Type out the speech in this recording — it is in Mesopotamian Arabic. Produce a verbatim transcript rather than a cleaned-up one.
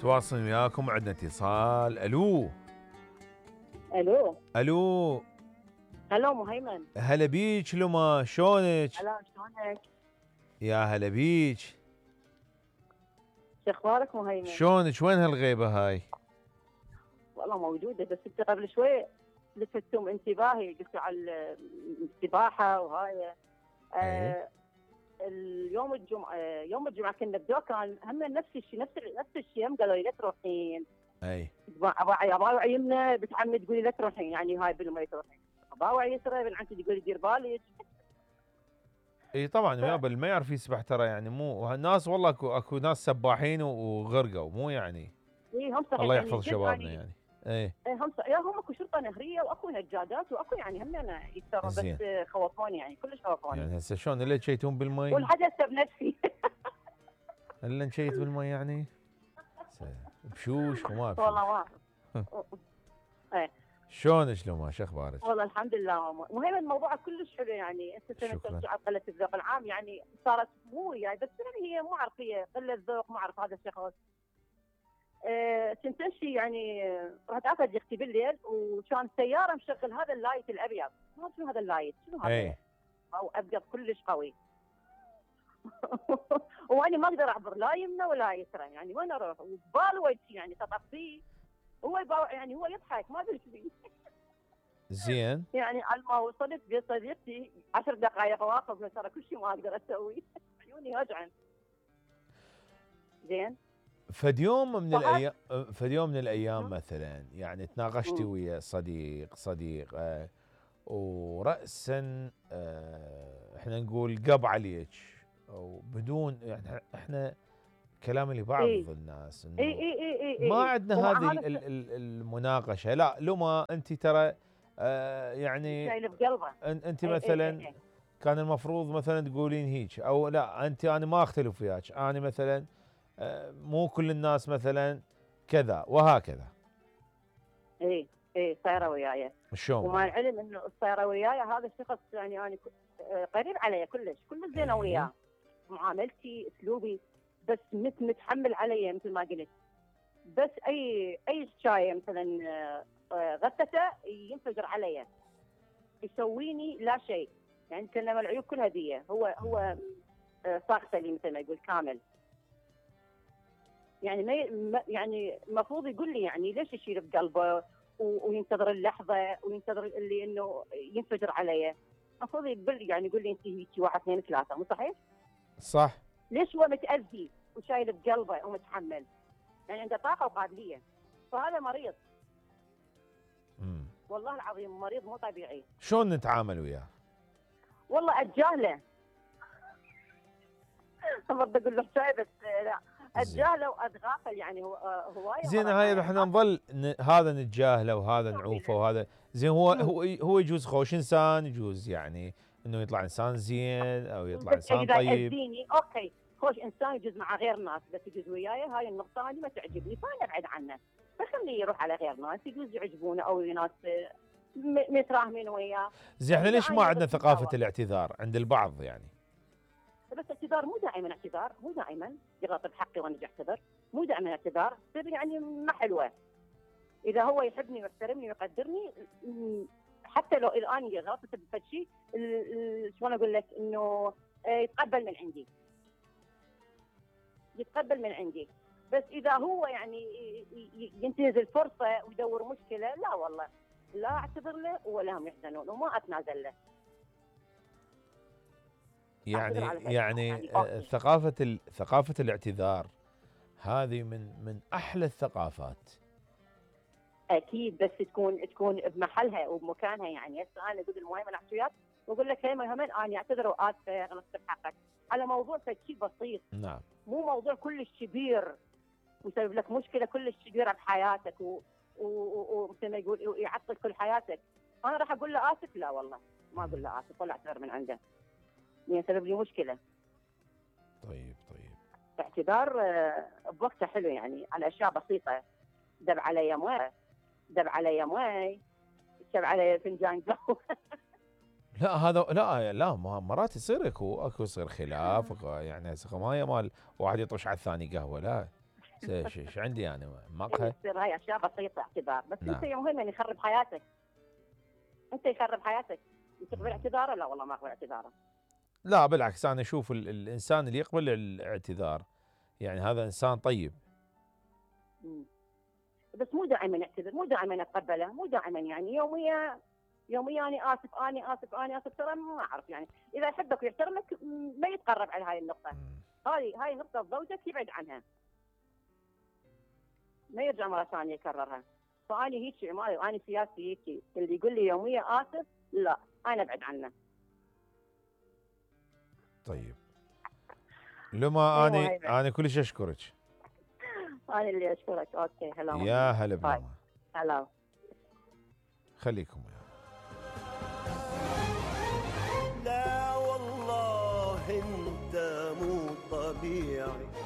نتواصل وياكم، عندنا اتصال. الو الو الو هلو مهيمن. هلا بيج لما، شلونك؟ هلا شلونك؟ يا هلا بيج، شو اخبارك مهيمن؟ شلونك؟ وين هالغيبه هاي؟ والله موجوده، بس انت قبل شوي لفتتم انتباهي، قلتوا على السباحه وهاي. آه اليوم الجمعه يوم الجمعه كنا بدوكان هم نفس الشيء نفس نفس الشيء، هم قالوا لي لا تروحين. اي ابا ابا يمنا بتعمد تقولي لا تروحين، يعني هاي بالمي تروحين. ابا يسرى بنعتي تقولي دير بالك. اي طبعا ويا ما يعرف يسبح ترى، يعني مو الناس، والله اكو اكو ناس سباحين وغرقوا، مو يعني. اي هم صحيح، الله يعني يحفظ شبابنا يعني. يعني. ايه هم يا هم اكو شرطه نهريه واكو نجادات واكو يعني هم انا يكثرون، بس خوفوني يعني كلش خوفوني. يعني هسه شلون اللي تشيتون بالمي؟ والحدث بنفسي. الا نشيت بالمي يعني بشوش وما بشوش. والله ما ايه شلونك لو ما شو اخبارك؟ والله الحمد لله. مهم الموضوع كلش حلو، يعني انت سنه ترجع قله الذوق العام، يعني صارت مو يعني، بس يعني هي مو عارف، هي قله ذوق، ما اعرف هذا الشخص. أه تنتشي يعني رحت اخذ اختي بالليل وكان سياره مشغل هذا اللايت الابيض، ما شنو هذا اللايت، شنو هذا؟ ايه او ابيض كلش قوي. وانا ما اقدر اعبر لا يمنى ولا يسرى، يعني وين اروح؟ وبال وجهي يعني تطفيه، هو يعني هو يضحك ما ادري ايش زين. يعني على ما وصلت بيت صديقتي عشر دقائق واقف، ترى كل شيء ما اقدر اسوي. عيوني وجعن. زين. فد يوم من الايام فد يوم من الايام مثلا يعني تناقشتي ويا صديق صديق آه وراسا آه احنا نقول قب عليك او بدون يعني احنا كلام لبعض إيه؟ الناس انه إيه إيه إيه إيه ما إيه عندنا هذه المناقشه. لا لما انت ترى آه يعني شايله بقلبه. انت مثلا إيه إيه إيه. كان المفروض مثلا تقولين هيك، او لا انت انا ما اختلف وياك، انا مثلا آه مو كل الناس مثلا كذا وهكذا. ايه ايه صايره وياي. شلون؟ ومع العلم انه صايره وياي هذا الشخص، يعني انا قريب علي كلش، كل زينه إيه؟ وياه، معاملتي اسلوبي، بس مت متحمل علي مثل ما قلت. بس اي اي شاي مثلا غثته ينفجر علي، يسويني لا شيء، يعني كلمه العيوب كلها دي، هو هو صاغته لي مثل ما يقول كامل. يعني ما يعني المفروض يقول لي يعني ليش يشيل بقلبه وينتظر اللحظه وينتظر اللي انه ينفجر علي. المفروض يقول لي يعني يقول لي انت هيك واحد اثنين ثلاثه، مو صحيح؟ صح. ليش هو متاذي وشايل بقلبه ومتحمل؟ يعني عنده طاقه وقابليه، فهذا مريض. امم والله العظيم مريض مو طبيعي. شلون نتعامل وياه؟ والله اتجاهله. بدي اقول له شاي بس لا، اتجاهله واتغافل، يعني هو هوايه. زين هاي احنا نظل ن... هذا نتجاهله وهذا نعوفه وهذا زين. هو هو هو يجوز خوش انسان، يجوز يعني انه يطلع انسان زين او يطلع انسان طيب. يأذيني اوكي، خوش انسان يجوز مع غير ناس، بس يجوز وياي هاي النقطه هذه ما تعجبني، فانا ابعد عنه، فخليه يروح على غير ناس يجوز يعجبونه او ناس متراهمين وياه. زين احنا ليش ما عندنا ثقافه الاعتذار عند البعض يعني؟ بس اعتذار مو دائما اعتذار، مو دائما يغلط بحقي وانا اعتذر، مو دائما اعتذار، تصير يعني ما حلوه. اذا هو يحبني ويحترمني ويقدرني، حتى لو الان غلطت بفد شيء، شلون اقول لك، انه يتقبل من عندي، يتقبل من عندي. بس اذا هو يعني ينتهز الفرصه ويدور مشكله، لا والله لا اعتذر له ولا هم يحزنون وما اتنازل له. يعني يعني, يعني ثقافه ثقافه الاعتذار هذه من من احلى الثقافات. اكيد، بس تكون تكون بمحلها وبمكانها. يعني هسه انا اقول المهم انا احكي وياك واقول لك هي مهمه، انا اعتذر واسفه غلطت بحقك على موضوع شيء بسيط. نعم. مو موضوع كلش كبير ويسبب لك مشكله كلش كبيره بحياتك ومثل ما يقول ويعطل كل حياتك. انا راح اقول له اسف؟ لا والله ما اقول له اسف ولا اعتذر من عنده، لان سبب لي مشكله. طيب طيب. الاعتذار بوقته حلو، يعني على اشياء بسيطه، دب علي مويه، دب علي مويه، شب علي فنجان قهوه. لا هذا لا لا مرات يصير اكو اكو يصير خلاف يعني، هسه ما مال واحد يطش على الثاني قهوه، لا ايش عندي انا إيه، مقهى؟ تصير هاي اشياء بسيطه اعتذار، بس نعم. انت يوم هم يخرب حياتك. انت يخرب حياتك، تقبل اعتذاره؟ لا والله ما اقبل اعتذاره. لا بالعكس، انا اشوف ال- الانسان اللي يقبل الاعتذار يعني هذا انسان طيب. مم. بس مو دائما يعتذر، مو دائما اتقبله، مو دائما يعني يوميا يوميا اني اسف اني اسف اني اسف ترى ما اعرف يعني اذا يحبك ويحترمك ما يتقرب على هاي النقطه. مم. هاي هاي نقطه زوجك يبعد عنها، ما يرجع مره ثانيه يكررها. فاني هيك عمالي واني سياسي هيك، اللي يقول لي يوميا اسف لا انا ابعد عنه. طيب لما أيوة اني هاي بعد. انا كلش اشكرك. انا اللي اشكرك. اوكي هلا يا هلا باي. بلما، هلا. خليكم وياه. لا والله انت مو طبيعي